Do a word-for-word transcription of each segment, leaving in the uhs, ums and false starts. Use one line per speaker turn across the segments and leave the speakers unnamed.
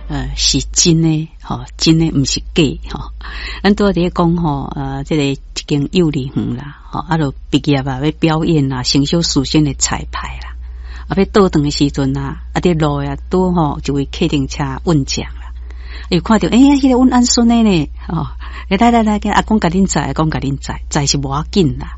呃，是真的吼，真的毋是假吼。咱拄仔佇咧講吼，呃，這個一間幼兒園啦，吼，啊，著畢業啊，欲表演啦，成小事先的彩排啦，啊，欲倒轉的時陣啊，啊，佇路啊，拄好一位客運車運將啦，伊看著，欸，彼個阮翁孫的呢，吼，欸，來來來，阿公共恁載，阿公共恁載，載是無要緊啦，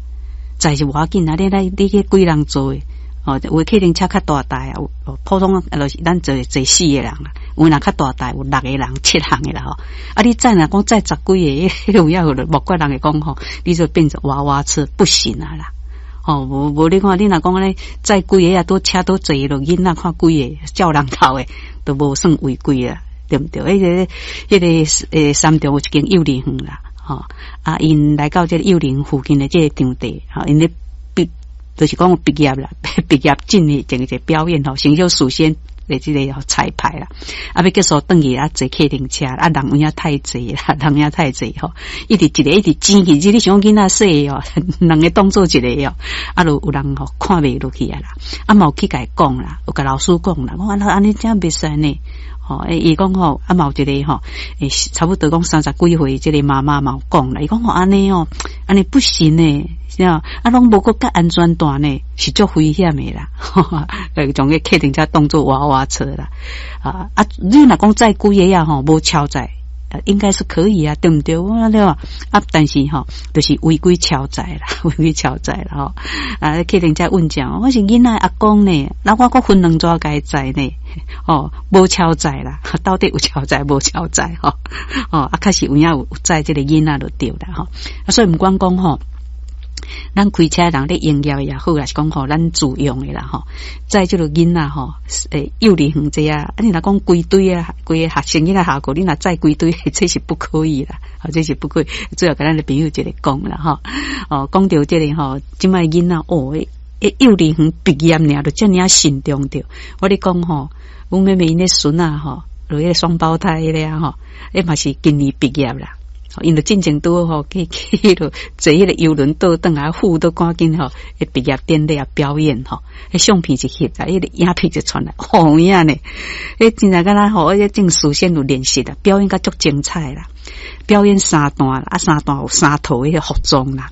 載是無要緊啊，你來，你去幾人座的？哦，有的客運車較大台啊，有普通就是咱坐坐四個人啊，有若較大台有六個人、七人的啦吼。啊，你載若講載十幾個，彼個有影有莫怪人會講吼，你就變成娃娃車不行啊啦。吼，無無你看，你若講按呢載幾個啊，都車都坐落囡仔看幾個，照人頭的，都無算違規啦，對毋對？彼個彼個欸三重有一間幼兒園啦，吼啊，𪜶來到這個幼兒園附近的這個場地，吼，𪜶咧畢就是講畢業啦，畢業進行一個表演吼，先小事先的這個彩排啦，啊，欲結束轉去啊，坐客運車，啊，人有影太濟啦，人有影太濟吼，一直一個一直擠去，你想講囡仔細哦，兩個當做一個哦，啊，就有人吼看袂落去啊啦，啊，嘛有去共伊講啦，有共老師講啦，講按呢這樣袂使呢。吼，伊講吼，啊嘛有一個吼，欸，差不多講三十幾歲，這個媽媽嘛有講啦，伊講吼按呢哦，按呢不行呢，是啊，啊攏無閣蓋安全帶呢，是足危險的啦，呃，將個客運車當做娃娃車啦，啊啊，你若講載幾個啊吼，無超載，應該是可以啊，對毋對？對吧？啊，但是吼，就是違規超載啦，違規超載啦吼。啊，客運車運將，我是囡仔阿公呢，那我閣分兩逝共伊載呢，哦，無超載啦，到底有超載無超載吼？哦，啊，確實有影有載這個囡仔就對啦吼。啊，所以毋管講吼，咱開車人咧營業也好，抑是講吼咱自用的啦吼，載這個囡仔吼，欸，幼兒園這啊，啊你若講規堆啊，規个學生囡仔下課，你若載規堆，這是不可以啦，這是不可以。最後共咱的朋友一個講啦吼，哦，講著這個吼，這擺囡仔哦，欸，幼兒園畢業爾就遮爾啊慎重著。我咧講吼，阮妹妹𪜶的孫仔吼，就彼個雙胞胎彼個啊吼，彼嘛是今年畢業啦。𪜶就進前拄好去去彼落坐彼個遊輪倒轉來，赴都趕緊吼，畢業典禮啊表演吼，彼相片一翕啊，彼個影片就傳來，吼有影呢，彼真正敢若吼，彼種事先有練習啦，表演甲足精彩啦，表演三段啦，啊三段有三套彼個服裝啦。